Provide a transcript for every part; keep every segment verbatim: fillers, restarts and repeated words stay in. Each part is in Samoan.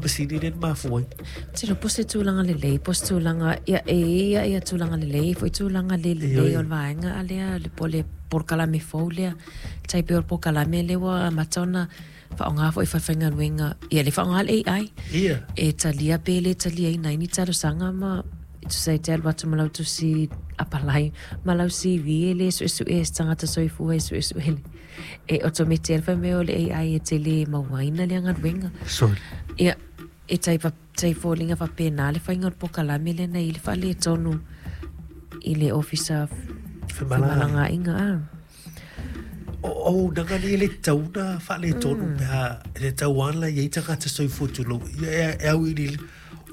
masini le mafua ai. Tilo po se tulaga lelei, po se tulaga ia e ia ia tulaga lelei, foi tulaga le lelei o le vaega a lea le po le polokalame fou lea. Tai pei o le polokalame lea ua amata ona faaaoga foi faifaigaluega ia le faaaoga le A I. Ia. E talia pe le taliaina ai ni talosaga ma e tusa ai te alu atu ma lau tusi apalai ma lau C V e le suesue e se tagata soifua e suesue le e otomete ai le faimea o le A I e tele mauaina lea galuega. Sorry. Ia e tai pa tai foliga faapena le faiga o le polokalame lea na i le faaletonu i le ofisa femalagaaiga a. O o naga ni le tauna faaletonu pe a le tauana i ai tagata soifua tulou. Ia e au i le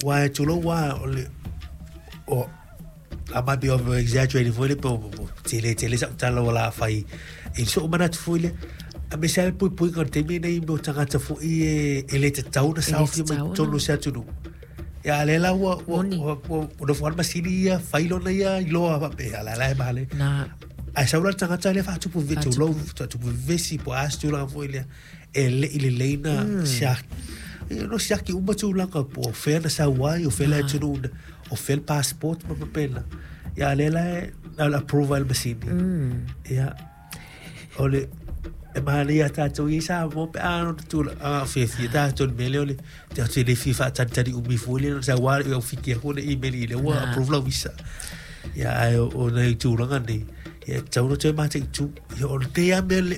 wa tulou wa o le o I might be over exaggerating foi le po tele tele sa tala wala fai i so mana foi le a me sa pui pui ka te me nei mo tagata foi e e le te tauna sa fi mai tonu se atunu. Ia le la ua ua ua no fo masini ia fai lona ia i loa pa pe ala la e male. Na ai sa ula tagata le fa tupu ve tulou tupu vesi po as tula foi le e le i le leina sia no sia ki uma tulaga po fe na sa wai o fe le atunu o fe le passport ma papela. Ia le la e approval masini. Ia o le e mahalia tātou i sa mo pe a no tula a fe fi tātou me le o le te atu le FIFA tani tani umi foi le sa wa o fiki ko le email i le ua approve la visa. Ia ai o nei tulaga nei ia tau no te mate tu ia o te a me le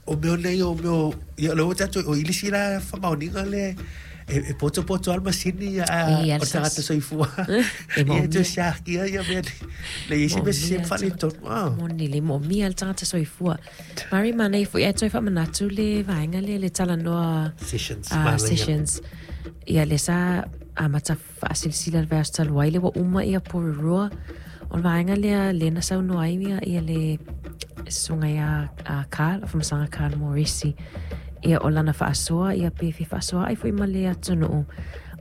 o me nei o me ia le o tātou o ilisi la whamaoninga le e e poto poto al masini ia o tagata soifua. Ia te siaki ia me le isi me se whale tonu. Moni le mo mia le tagata soifua. Mari manei foi e toi whamanatu le vaenga le le talanoa sessions. Uh, sessions. Ia le sa amata whaasilisila le vaiaso talu ai le wa uma ia Porirua. O le vaenga lea le na saunoa ai ia ia le susuga ia a Carl, whamasanga Carl Morisi. Ia o lana whaasoa, ia pe fi whaasoa ai foi ma le atunuu.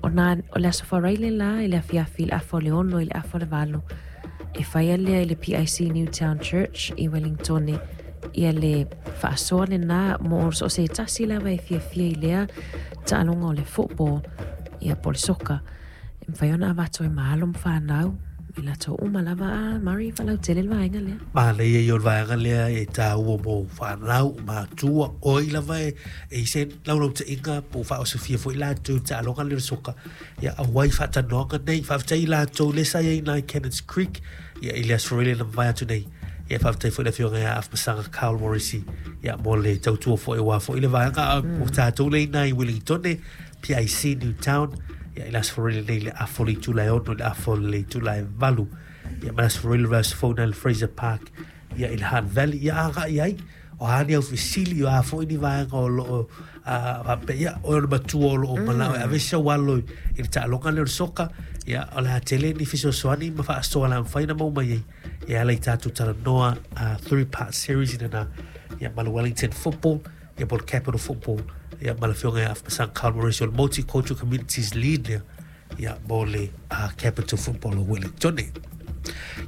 O nā, o le aso wharaile la, i le afiafi, i le afa o le ono, i le afa o le valo. E whaia lea i le P I C Newtown Church i Wellingtone. Ia le whaasoa le nā, mo o so se tasi lava e fiafia i lea, taaloga o le football, ia po le soka. E mwhai ona avato e mahalo mwhanau. I latou uma lava a Mari whalautele le vaenga lea. Manaia ia o le vaega lea e tāua mo whanau, matua, oi lava e e se laulautaiga po o faaosofia foi latou taaloga le soka. Ia auai faatanoaga nei, faafetai latou le sa iai nai Cannons Creek, ia i le aso Faraile na mavae atu nei. Ia faafetai foi le afioga ia Afamasaga Carl Morrissey, ia mo le tautua foi ua foi le vaega o tātou le inā i Wellingtone, P I C Newtown. Ia i le aso Faraile nei le afa o le itula e ono, le afa o le itula e valu. Ia ma le aso Faraile le aso fou na le Fraser Park, ia i le Hutt Valley, ia agai ai. O hani au fesili, o a foi ni vaega o loo, a pe ia, o le matua o loo manao, e avese o alo i le taaloga le o le soka, ia o le atele ni fesoasoani ma faasoa la mawhai na mau mai ai. Ia ala i tātou talanoa, a three part series ina na, ia ma le Wellington Football, ia po le Capital Football, ia ma le afioga ia Afamasaga Carl Morrissey o le Multicultural Communities Lead lea, ia mo le uh, Capital Football o Wellington.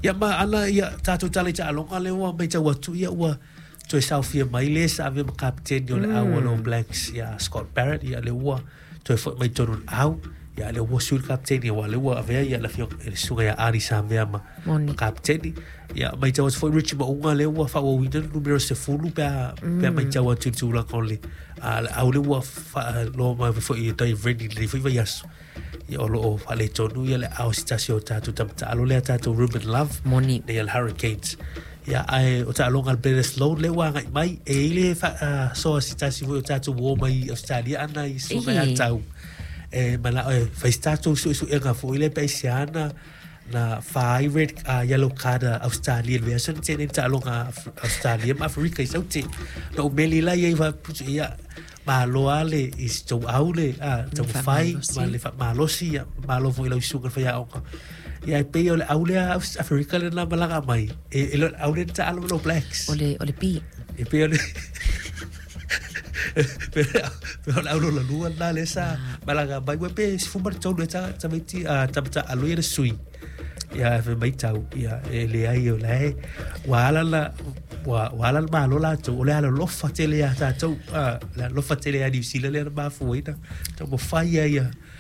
Ia ma ana ia tātou tala i taaloga le ua mai tau atu ia ua toe saofia mai le sa ave ma kapiteni o le au o le All Blacks ia Scott Barrett, ia le ua toe foi mai tonu le au, ia le ua sui le kapiteni ua le ua avea ia le afioga le susuga ia Ari Samea ma ma kapiteni. Ia mai tau atu foi Richie Maunga le ua faauauina le numero sefulu pe a pe a mai tau atu i le tulaga o le a le au le ua faaloa mai foi i tai Vrenny le foi vaiaso. Ia o loo faaletonu ia le ao se tasi o tātou tamataalo lea tātou Ruben Love Moni. Nei le Hurricanes. Ia ai o taaloga le Bledisloe le ua agai mai e i le faasoa se tasi foi o tātou uo mai Australia ana i susuga ia tau. E manao e fai se tātou suesuega foi le pe se ana na whai red uh, yellow card Australia le vaiaso na tene taaloga Australia ma Afrika i saute. Na umeli la ia i whaputu ia malo ale i se tau au le a tau whai ma le malosi ia malo foi lau susuga le whaiaoga. Ia e pei o le au lea Afrika le na malaga mai. E, e le au le taalo lo Blacks. O le, o le pi. E pei o le pe o le au lola lua na le sa malaga mai. Ua pe si fumar tolu e ta tamaiti a tamata alo ia le sui. Ia e mai tau ia e le ai o le ua ala la ua ua ala le malo latou o le ala lofa tele ia tātou a le lofa tele ia New Zealand le na mafuaina tau mawhai ia ia